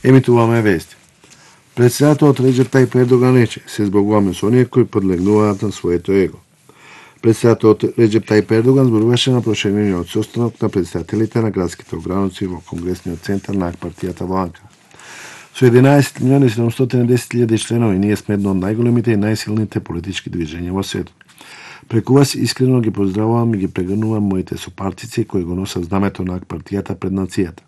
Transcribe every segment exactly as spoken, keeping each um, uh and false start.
Емитуваме вести. Председателот Реџеп Тајип Ердоган рече: се збогуваме со оние кои подлегнуваат на своето его. Председателот Реџеп Тајип Ердоган зборуваше на проширениот состанок на председателите на градските ограници во Конгресниот центар на ак-партијата во Анкара. Со единаесет милиони седумстотини и десет илјади членови ние сме едно од најголемите и најсилните политички движења во светот. Преку вас искрено ги поздравувам и ги прегрнувам моите сопартици кои го носат знамето на ак-партијата пред нацијата.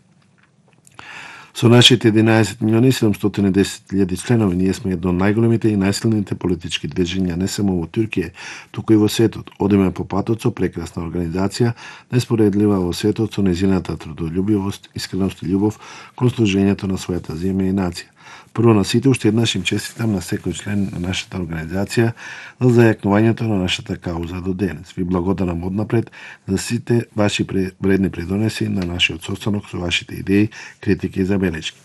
Со нашите единаесет милиони седумстотини и десет илјади членови ние сме едно од најголемите и најсилните политички движења не само во Туркија, туку и во светот. Одиме по патот со прекрасна организација, неспоредлива во светот со незината трудолюбивост, искреност и љубов кон служењето на својата земја и нација. Прво на сите уште еднаш им честитам на секој член на нашата организација за зајакнувањето на нашата кауза до денес. Ви благодарам однапред за сите ваши вредни придонеси на нашиот состанок со вашите идеи, критики и забелешки.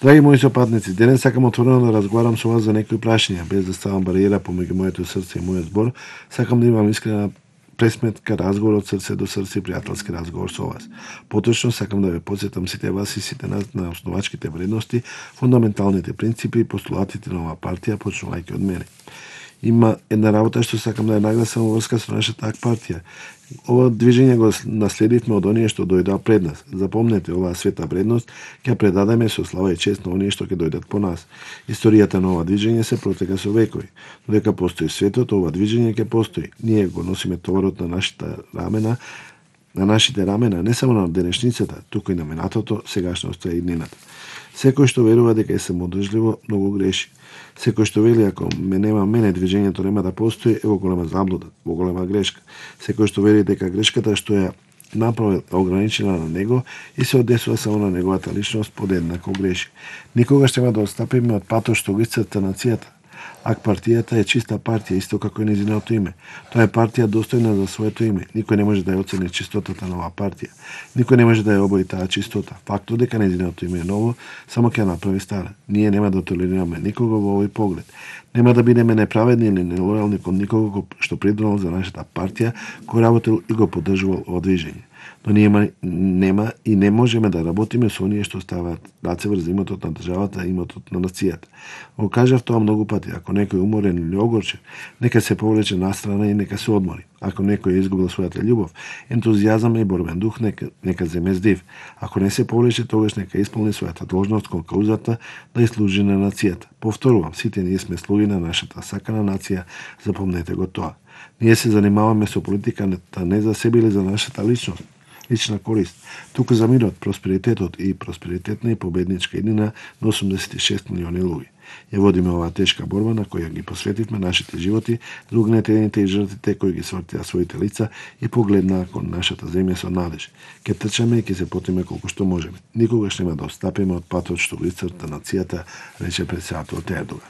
Драги мои сопатници, денес сакам отворено да разговарам со вас за некои прашања, без да ставам бариера помеѓу моето срце и мојот збор. Сакам да имам искрена пресметка, разговор од срце до срце, пријателски разговор со вас. Поточно сакам да ве потсетам сите вас и сите нас на основачките вредности, фундаменталните принципи и постулатите на оваа партија, почнувајќи од мене. Има една работа што сакам да ја нагласам во врска со нашата ак-партија. Ова движење го наследивме од оние што дојдоа пред нас. Запомнете, оваа света вредност ќе предадеме со слава и чест на оние што ќе дојдат по нас. Историјата на ова движење се протека со векови. Додека постои светот, ова движење ќе постои. Ние го носиме товарот на нашите рамена, на нашите рамена, не само на денешницата, туку и на минатото, сегашноста и иднината. Секој што верува дека е самоодржливо, многу греши. Секој што вели ако ме нема мене, движењето нема да постои, е во голема заблуда, во голема грешка. Секој што вели дека грешката што ја направил е ограничена на него и се одесува само на неговата личност, подеднако греши. Никогаш нема да отстапиме од патот што го исцрта нацијата. Ак-партијата е чиста партија, исто како и нејзиното име. Тоа е партија достојна за своето име. Никој не може да ја оцени чистотата на оваа партија. Никој не може да ја обои таа чистота. Фактот дека нејзиното име е ново, само ќе направи стара. Ние нема да толерираме никого во овој поглед. Нема да бидеме неправедни или нелојални кон никого што придонел за нашата партија, кој работел и го поддржувал ова движење. Но ние нема и не можеме да работиме со оние што ставаат раце врз имотот на државата и имотот на нацијата. Го кажав тоа многу пати, ако некој е уморен или огорчен, нека се повлече настрана и нека се одмори. Ако некој е изгубил својата љубов, ентузијазам и борбен дух, нека, нека земе здив. Ако не се повлече, тогаш нека исполни својата должност кон каузата да ја служи на нацијата. Повторувам, сите ние сме слуги на нашата сакана нација, запомнете го тоа. Ние се занимаваме со политиката не за себе или за нашата личност, лична корист, туку за мирот, просперитетот и просперитетна и победничка иднина на осумдесет и шест милиони луѓе. Ја водиме оваа тешка борба на која ги посветивме нашите животи за угнетените и жртвите кои ги свртија своите лица и погледнаа кон нашата земја со надеж. Ке трчаме и ке се потиме колку што можеме. Никогаш нема да отстапиме од патот што го исцрта нацијата, рече председателот Ердоган.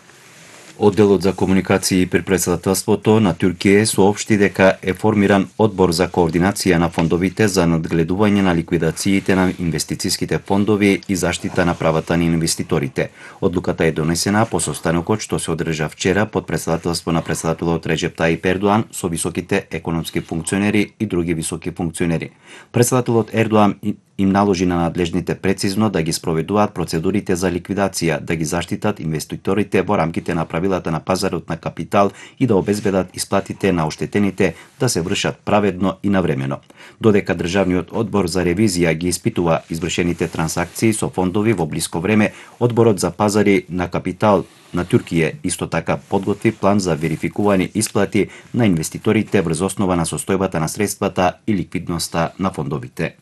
Одделот за комуникации при председателството на Туркија соопшти дека е формиран одбор за координација на фондовите за надгледување на ликвидациите на инвестициските фондови и заштита на правата на инвеститорите. Одлуката е донесена по состанокот што се одржа вчера под председателство на председателот Реџеп Тајип Ердоган со високите економски функционери и други високи функционери. Председателот Ердоган им наложи на надлежните прецизно да ги спроведуваат процедурите за ликвидација, да ги заштитат инвеститорите во рамките на правилата на пазарот на капитал и да обезбедат исплатите на оштетените да се вршат праведно и навремено. Додека Државниот одбор за ревизија ги испитува извршените трансакции со фондови во блиско време, Одборот за пазари на капитал на Туркија исто така подготви план за верификување исплати на инвеститорите врз основа на состојбата на средствата и ликвидноста на фондовите.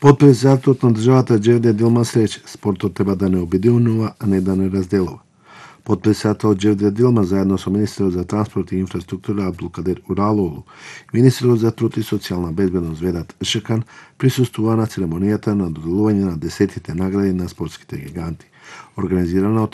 Подпредседателот на државата Џевдет Илмаз рече: спортот треба да не обединува, а не да не разделува. Подпредседателот Џевдет Илмаз заедно со министерот за транспорт и инфраструктура Абдулкадер Уралоглу, министерот за труд и социјална безбедност Ведат Ишакан присуствува на церемонијата на доделување на десетите награди на спортските гиганти, организирана од